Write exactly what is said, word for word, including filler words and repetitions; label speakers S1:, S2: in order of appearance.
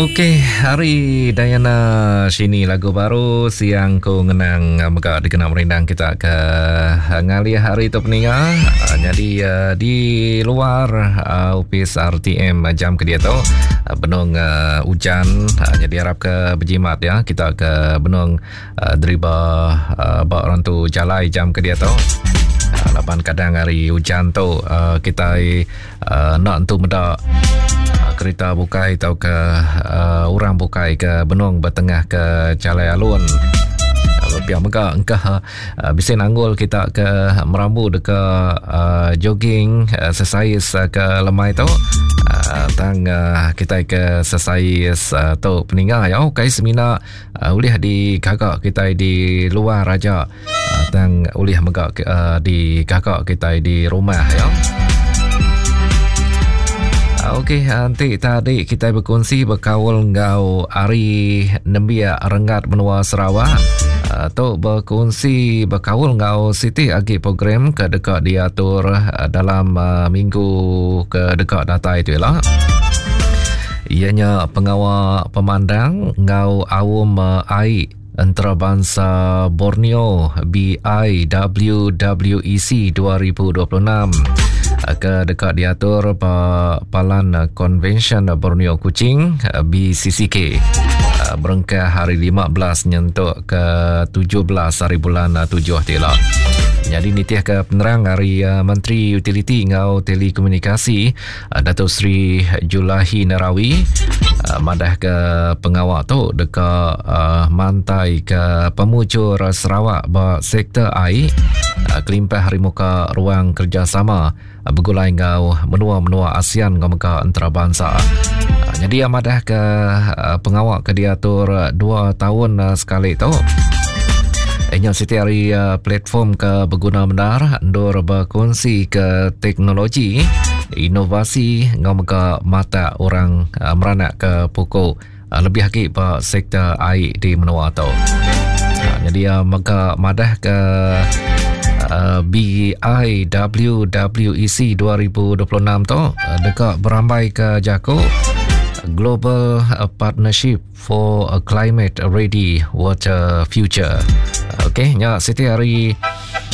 S1: Okey, hari Diana Shini lagu baru Siang Ku Ngenang mega dikena merindang kita ke ngalih hari tu peninga. Jadi di luar opis R T M jam ke dia tu benung hujan, jadi harap ke berjimat ya kita ke benung deriba ba orang tu jalai jam ke dia tu. Laban kadang hari hujan tu kita nak entu meda kereta bukai atau ke uh, orang bukai ke benung bertengah ke jalai alun. Pihak mega engkah uh, bisa nanggul kita ke merambu deka uh, jogging, exercise uh, ke lemai tu uh, tang uh, kita ke exercise uh, tu peninga ya kai semina uh, ulih di gagak kita di luar aja uh, tang ulih mega uh, di gagak kita di rumah ya. Okey, nanti tadi kita berkongsi berkaul ngau hari Nembia Renggat Menua Sarawak. Uh, tu berkongsi berkaul ngau siti agi program ke dekat diatur uh, dalam uh, minggu ke dekat data itu lah. Ianya pengawal pemandang ngau awam uh, A I Antarabangsa Borneo B I W W E C dua ribu dua puluh enam ke dekat diatur pa Palan Konvensyen Borneo Kuching B C C K berengkah hari lima belas nyentuk ke tujuh belas hari bulan tujuh tila. Jadi nitiah ke penerang hari uh, Menteri Utiliti ngau Telekomunikasi uh, Datuk Seri Julaihi Narawi uh, madah ke pengawal tu deka uh, mantai ke pemujur Sarawak ba sektor air uh, kelimpah hari muka ruang kerjasama uh, bergulai ngau menua-menua ASEAN ngau mega antarabangsa. Uh, jadi madah ke uh, pengawal ke diatur dua tahun uh, sekali tu. Inya siti hari uh, platform ke berguna benar ndur berkongsi ke teknologi, inovasi ngau mega mata orang uh, meranak ke pokok uh, lebih lagi ba sektor air di menua tu. Uh, jadi uh, mega madah ke uh, B I W W E C dua ribu dua puluh enam tu uh, dekat berambai ke Jako Global Partnership for a Climate Ready Water Future. Okey, nya siti hari